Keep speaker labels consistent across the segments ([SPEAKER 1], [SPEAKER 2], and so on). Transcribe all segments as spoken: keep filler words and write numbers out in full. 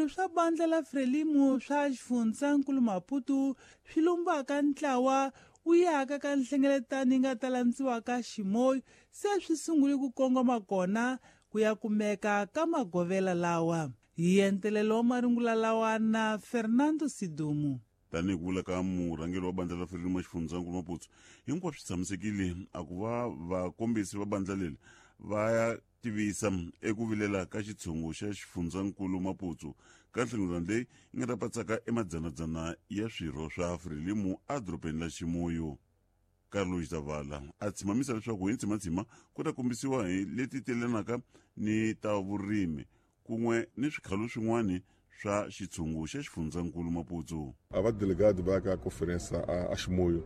[SPEAKER 1] Swirho swa bandla la Frelimo swa xifundzankulu Maputo swi lumbaka ntlawa wu yaka ka nhlengeletano yi nga ta landziwaka Chimoio se swi sungule ku kongoma kona ku ya kumeka ka magovela lawa. Hi entelelo wa marungula lawa na Fernando Sidumo.
[SPEAKER 2] Tanihi ku vula ka murhangeri wa bandla la Frelimo xifundzankulu Maputo, hinkwaswo swi tshamisekile a ku va vakombisi va bandla leri va ya tivisa eku vilela ka xitshungu xa xifundzankulu Maputo ka nhlengeletano leyi yi nga ta patsaka emadzanadzana ya swirho swa Frelimo edorobeni la Chimoio. Carlos Zavala a tshimamisa leswaku hi ntsimatsima ku ta kombisiwa hi leti telanaka ni ta vurimi kun'we ni swikhalo swin'wana swa xitshungu xa xifundzankulu Maputo.
[SPEAKER 3] A va delegado va ya ka conference a, a Chimoio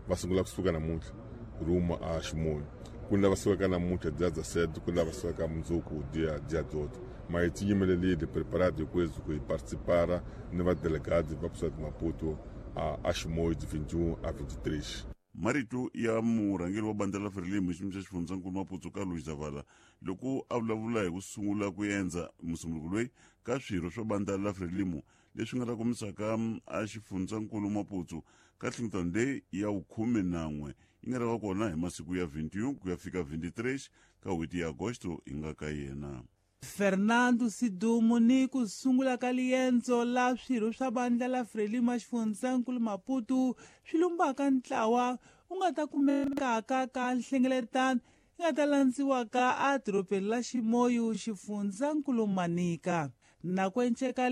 [SPEAKER 3] va sungula kusuka namuntlha rumo a Chimoio. Ku ni lava sukaka namuntlha dia dezessete, ku ni lava sukaka mundzuku dia dia dezoito. Mas hi tiyimelelile preparado hi kwezu ku hi participar ni va delegado va kusuka Maputo a, a Chimoio de vinte e um a vinte e três.
[SPEAKER 2] Marito ya murhangeri wa bandla la Frelimo xiyimo xa xifundzankulu Maputo Carlos Zavala loko a vulavula hi ku sungula ku endza musunguluko loyi ka swirho swa bandla la Frelimo leswi nga ta kombisaka a xifundzankulu Maputo ka nhlengeletano leyi ya vukhume nan'we yi nga ta va kona hi masiku ya vinte e um ku ya fika vinte e três ka n'hweti ya agosto hi nga ka yena.
[SPEAKER 1] Fernando Sidumo ni ku sungula ka liendzo la swirho swa bandla la Frelimo xifundzankulu Maputo swi lumbaka ntlawa wu nga ta kumekaka ka nhlengeletano yi nga ta landziwaka edorobeni la Chimoio xifundzankulu Manica. Na ku enceka.